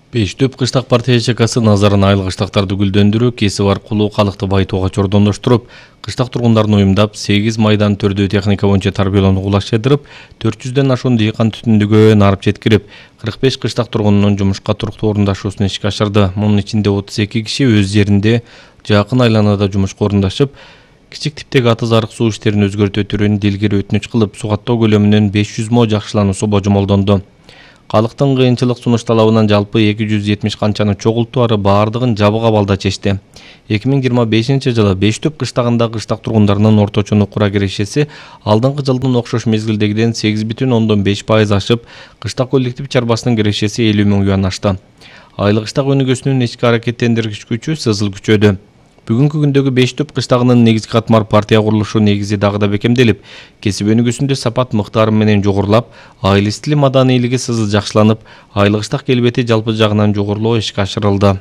Бештөп кыштак партия ЖКсы назарын айыл кыштактарды гүлдөндүрүү, кесип аркылуу калыкты байытууга чордондоштуруп, кыштак тургундарын уюмдап, 8 майдан төрдүү техника боюнча тарбиялоону кулаштырып, 400дөн ашуун дыйкан түтүндүгө нарып жеткирип, 45 кыштак тургунунун жумушка туруктуу орундашуусун ишке ашырды. Мунун ичинде 32 киши өз жеринде жакын айланада жумушка орундашып, кичик типтеги аты зарык суу иштерин өзгөртүү түрүн дилгири өтүнүч кылып, сугаттоо көлөмүнүн 500 мо жакшылануусу божомолдонду. Калктын кыйынчылык сунуш талабынан жалпы 270 канчаны чогултуу ары баардыгын жабык абалда чечти. 2025 жылы Бештөп кыштагында кыштак тургундарынын орточо нукура кирешеси алдыңкы жылдын окшош мезгилдегиден 8,5% ашып, кыштак коллектив чарбасынын кирешеси 50 000 юан ашты. Айыл кыштак өнүгүүсүнүн ички аракеттендиргич күчү сызыл күчөдү. Бүгүнкү күндөгү Бештөп кыштагынын негизги катмар партия курулушу негизи дагы да бекемделип, кесип өнүгүүсүндө сапат мыктары менен жогорулап, айыл стили маданийлиги сызыл жакшыланып, айыл кыштак келбети жалпы жагынан жогорулоо ишке ашырылды.